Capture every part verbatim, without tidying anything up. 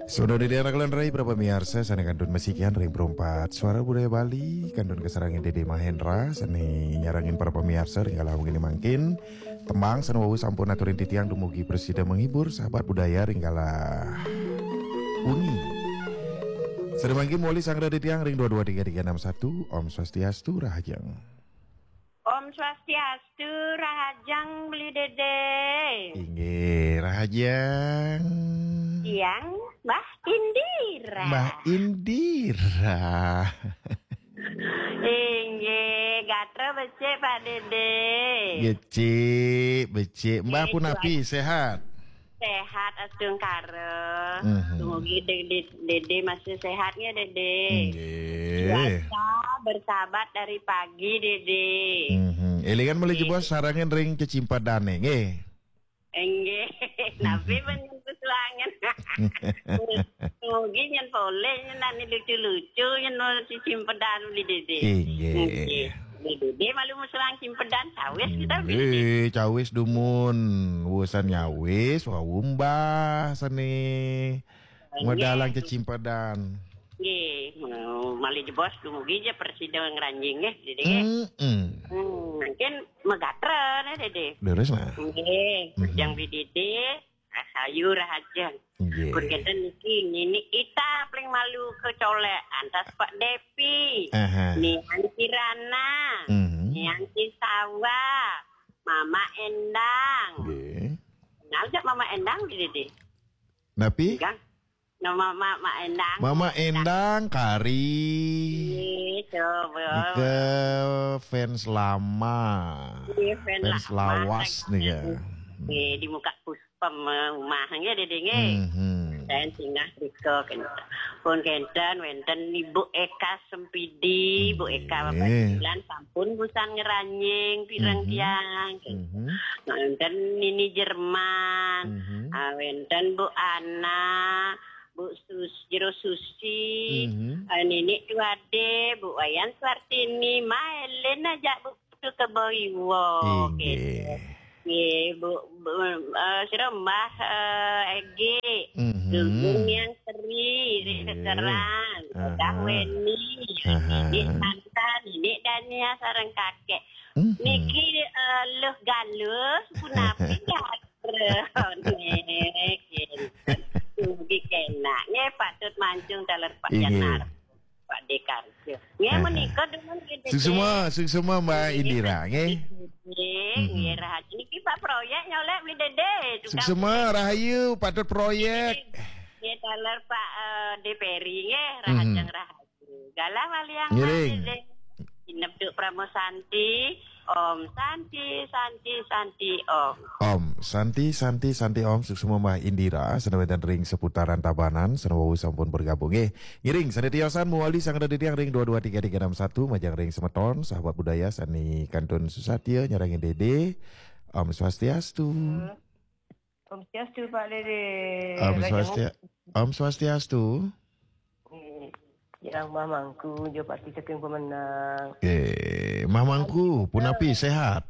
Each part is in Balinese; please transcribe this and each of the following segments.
Saudara Dede anak lan rai, para pamiarsa, sané kantun masikian ring Perumpat Suara Budaya Bali, kantun kasarengin Dede Mahendra, sané nyarengin para pamiarsa ring kala wengi mangkin. Tembang sané wau sampun aturin titiang dumugi prasida menghibur sahabat budaya ring kala wengi. Sané mangkin mawali sanggra titiang ring dua dua tiga tiga enam satu. Om Swastiastu, rahajeng. Om Swastiastu, rahajeng Beli Dede. Inggih, rahajeng. Tiang Mbah Indira. Mbah Indira. Inggih, gatra becik Pak Dede. Becik, becik. Mbah punapi, sehat? Sehat astungkara. Mhm. Dumugi Dede, Dede masih sehat ya, Dede. Inggih. Cuaca bersahabat dari pagi, Dede. Mhm. Élingan malih jebos sarengin ring cecimpedané, nggih. Inggih. Napi men nyen pesuangan. Mugi nyen polih nyen ane lucu-lucu nyen cecimpedan Beli Dede. Inggih. Inggih. Beli Dede malu musuang cimpedan cawis kita Beli Dede. Inggih, cawis dumun. Wusan nyawis, wau Mbah sané. Inggih. Medalang cecimpedan. Nggih, malih jebos dumugi ja prasida ngranjing nggih, Dede nggih. Mm-mm. Hmm, mungkin magatra nih, Dede. Leres, nah. Nggih, mhm. Jang Beli Dede, rahayu rahajeng. Nggih. Pun kenten niki Nini Ita paling malu kecolek, antas Pak Depi. Aha. Nian Kirana. Mhm. Nian Cisawa. Mama Endang. Nggih. Kenal jak Mama Endang, Dede? Napi? Enggak. Nama Mama Endang. Mama Endang kari. Iya, coba. Nika fans lama. Iya, fans lama. Fans lawas nih ya. Iya, di muka puspem, eh, rumah nggih, Dede nggih. Mhm. Saya singgah rika kenten. Pun kenten wenten Ibu Eka Sempidi, Bu Eka. Nggih. Bapak Dilan sampun busan ngranjing pireng, mhm, tiang. Mhm. Wenten Nini Jerman, mhm, ah, wenten Bu Ana, Bu Sus-, Jero Susi, mhm, ah, Nini Duade, Bu Wayan Suartini, Maelen aja Bu Putu Kebo Iwo, inggih, gitu. Nggih, Bu, Bu, eh, sira Mbah, eh, Egi, mhm, Gunggung Yang Seri, Ri, nggih, Sekerang, aha, Dah Weni, aha, Dik Santa, Dik Dania, sareng kakek. Mhm. Niki, eh, Luh Galus, punapi gatra? Nggih, nggih, kenak. Nggih, patut mancung taler Pak, inggih, Janar. Pak Dekarjo. Nggih, aha, menika dumun nggih, Dede. Suksma, suksma, Mbak Indira, nggih. Nggih, mhm, nggih, rahayu. Niki Pak Proyek nyolek Beli Dede, tukang. Suksma, rahayu, patut Proyek. Nggih, nggih, taler Pak, eh, De Peri, nggih, mhm, rahajeng rahayu. Galah waliang. Ngiring. Malih, Dede. Inep duk Pramo Santi. Om Santi, Santi, Santi, Om. Om Santi, Santi, Santi, Om. Suksma Mbah Indira, sané wénten ring seputaran Tabanan, sané wau sampun bergabung. Nggih, ngiring sané tiosan mawali sanggra titiang ring dua dua tiga tiga enam satu, majeng ring semeton, sahabat budaya, sané kantun susatia, nyarengin Dede. Om Swastiastu. Om Swastiastu, Pak Dede. Om Raja Swastia-, Mu-, Om Swastiastu. Eh, yang Mamangku, Jopati saking Pemenang. Eh, Mamangku, punapi, sehat?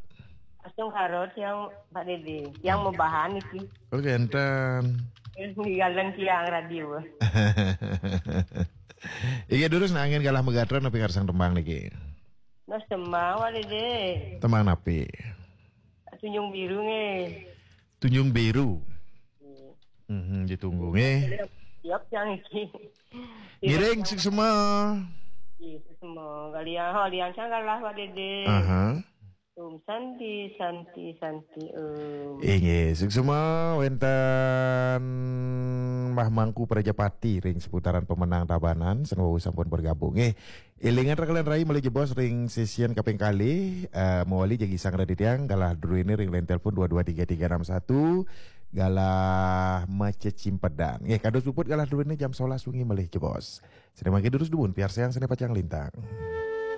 Asung harot yang Pak Dede, yang mabahan iki. Oh, genten. Eh, ninggalan tiang radio. Iya, durus nangin galah magatra napi karsang tembang niki? Nah, sema, Pak Dede. Tembang napi? Tunjung Biru nggih. Tunjung Biru. Nggih. Mhm, ditunggu nggih. Siap yang iki. Ngiring, siap, suksma. Nggih, suksma. Kalian, ho, lian sang galah, Pak Dede. Aha. Om Santi, Santi, Santi, Om. Inggih, suksma wénten Mamangku Prajapati ring seputaran Pemenang Tabanan, sané wau sampun bergabung. Nggih, élingan raka lan rai malih jebos ring sesian kaping kalih, eh, mawali jagi sanggra titiang galah druéné ring line telepon dua dua tiga tiga enam satu, galah macecimpedan. Nggih, kados puput galah druéné jam sebelas wengi malih jebos. Sané mangkin durus dumun, piarsayang sané pacang lintang.